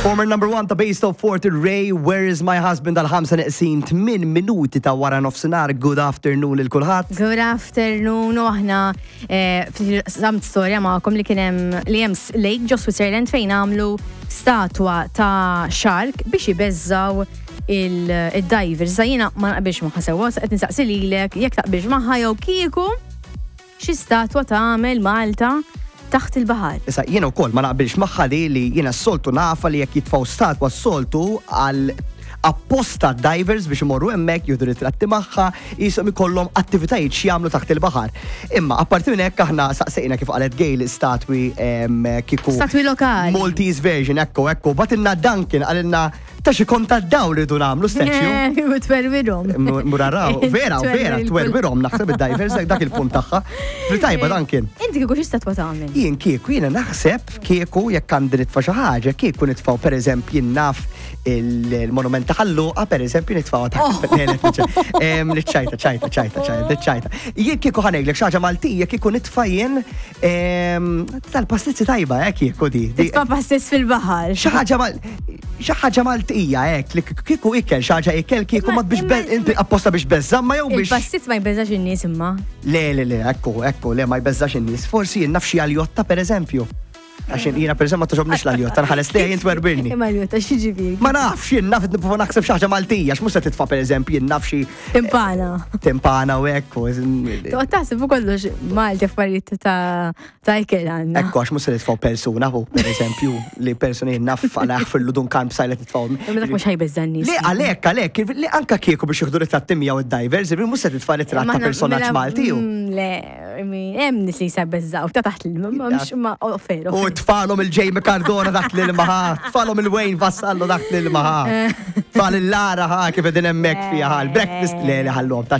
Former number one ta' Base Top 40 Ray, Where is my husband għal 5 neqsin 8 minuti ta' wara nofsinhar. Good afternoon lil kulħadd. Good afternoon, u aħna eh, samt storja magħkom li kien hemm li hemm lake ġo Switzerland fejn għamlu statwa ta' shark biex ibeżżaw il-divers. Sa jiena ma naqbilx magħha sewwa, qed nistaqsi lilek jekk taqbilx magħha jew kieku Xi statwa tagħmel Malta taħt il-baħar? Issa jiena wkoll ma naqbilx magħha li li jiena s-soltu nafha li jekk jitfgħu statwa s-soltu għal apposta divers biex imorru hemmhekk jieħdu ritratti magħha, qishom ikollhom attivitajiet x'jagħmlu taħt il-baħar. Imma apparti minn hekk aħna saqsejna kif qalet Gail statwi kieku. Statwi lokali. Maltese version, ekku, ekku. Batilna Duncan qalilna Ta' xi kont ta' dawl rridu nagħmlu statue. U twerwirhom. Muraraw, vera, vera, twerwirhom naħseb id-divers dak il-punt tagħha. Fil-tajba dan kien. Inti kieku xi statwa tagħmel? Jien kieku jiena naħseb kieku jekk għandi nitfa' xi ħaġa, kieku nitfgħu pereżempju jien naf il-monument ta' Ħalluqa pereżempju nitfgħu ta' oh. Niċċajta, ċajta, ċajta, ċajta, ċajta. Jien kieku ħanejlek xi ħaġa Maltija kieku nitfa' jien Tal-pastizzi tajba, eh, kieku di. Titfa' pastizz fil-baħar. Xi ħaġa xi ħaġa Maltija hekk li kieku ikel xi ħaġa ikel kieku ma biex inti apposta biex beżżamma jew biex. Il-pastizz ma jbeżax in-nies imma. Le, le, le, ekku, ekku, le ma jbeżax in-nies. Forsi jien naf xi għaljotta pereżempju. Għax jiena per ma toġobniex l-aljotta, nħares li jien twerbirni. Imma aljotta x'ġifieri? Ma nafx, jien naf nipprova naħseb xi ħaġa Maltija, x'mhux se titfa' pereżempju jien naf xi Timpana. Timpana u hekk. Toqgħod taħseb u kollox Malti affarijiet ta' ta' ikel għandna. Ekku għax mhux se nitfgħu persuna hu, pereżempju, li persuna jien naf għal jaħfirlu dun kalm sajla titfgħu. Imma dak mhux ħajbeżża' n-nies. Le għalhekk għalhekk li anke kieku biex jieħdu ritratti miegħu id-divers, mhux se titfa' ritratt ta' personaġġ Malti hu. Le, hemm nies li jisabbeżżaw ta' taħt l-ilma, ma mhux ma offeru. U tfalhom il-Jamie Cardona taħt l-ilma ħa, tfalhom il-Wayne Vassallo taħt l-ilma ħa. Tfal il-Lara ħa kif qegħdin hemmhekk fiha ħa l-breakfast le li ħallhom ta'